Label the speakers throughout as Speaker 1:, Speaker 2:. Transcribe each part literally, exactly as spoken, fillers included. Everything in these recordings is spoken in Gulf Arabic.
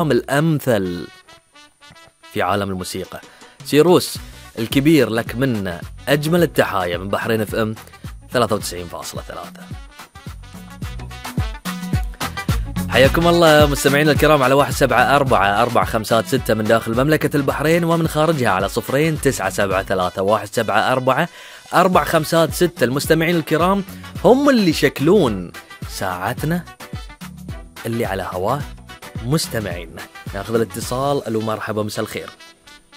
Speaker 1: الأمثل في عالم الموسيقى. سيروس الكبير لك منا أجمل التحايا من بحرين اف ام ثلاثة وتسعين فاصلة ثلاثة. حياكم الله مستمعينا الكرام على واحد سبعة أربعة أربعة خمسات ستة من داخل مملكة البحرين ومن خارجها على صفرين تسعة سبعة ثلاثة واحد سبعة أربعة أربعة خمسات ستة. المستمعين الكرام هم اللي شكلون ساعتنا اللي على هواه مستمعينا. ناخذ الاتصال. الو مرحبا مساء الخير.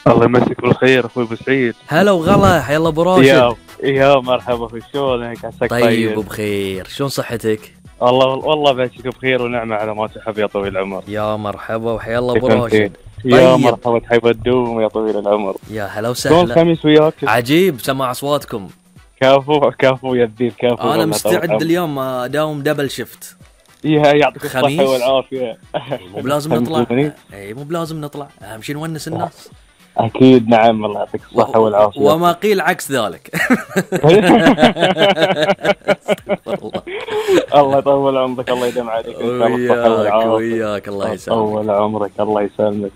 Speaker 2: الله يمسك بالخير اخوي ابو سعيد.
Speaker 1: هلا وغلا حيا الله ابو راشد.
Speaker 2: يا يا مرحبا اخوي شلونك؟ عساك
Speaker 1: طيب,
Speaker 2: طيب
Speaker 1: وبخير. شلون صحتك؟
Speaker 2: الله والله باشك بخير ونعمه على ما تحب يا طويل العمر.
Speaker 1: يا مرحبا وحيا الله ابو راشد.
Speaker 2: طيب. يا مرحبا تحب الدوم يا طويل العمر.
Speaker 1: يا هلا وسهلا.
Speaker 2: شلون الخميس وياك؟
Speaker 1: عجيب سمع اصواتكم.
Speaker 2: كافو كافو يا الدين كافو.
Speaker 1: انا مستعد اليوم اداوم دبل شيفت.
Speaker 2: يا يعطيك الصحه والعافيه.
Speaker 1: مو بلازم نطلع. اي مو بلازم نطلع، اهم شيء نونس الناس.
Speaker 2: اكيد نعم الله يعطيك الصحه و... والعافيه.
Speaker 1: وما قيل عكس ذلك.
Speaker 2: الله يطول عمرك الله يديم عليك ان شاء الله الصحه والعافيه.
Speaker 1: وياك الله يسلمك.
Speaker 2: طول عمرك الله يسلمك.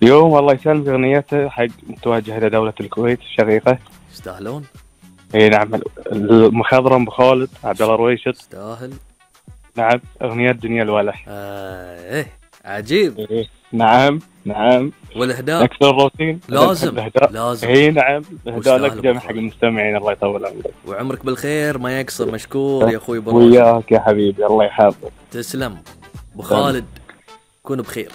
Speaker 2: اليوم الله يسلمك اغنيته حق متوجهه لدوله الكويت الشقيقه.
Speaker 1: يستاهلون.
Speaker 2: اي نعم المخضرم بخالد عبد الله رويشد.
Speaker 1: يستاهل.
Speaker 2: نعم اغنيه دنيا الولح.
Speaker 1: آه ايه عجيب.
Speaker 2: إيه. نعم نعم.
Speaker 1: والاهداء
Speaker 2: اكثر الروتين
Speaker 1: لازم
Speaker 2: الهداء.
Speaker 1: لازم.
Speaker 2: اي نعم الاهداء لك جميع حق المستمعين الله يطول عمرك.
Speaker 1: وعمرك بالخير ما يقصر. مشكور يا اخوي
Speaker 2: براشد. وياك يا حبيبي الله يحفظك.
Speaker 1: تسلم ابو خالد. كون بخير.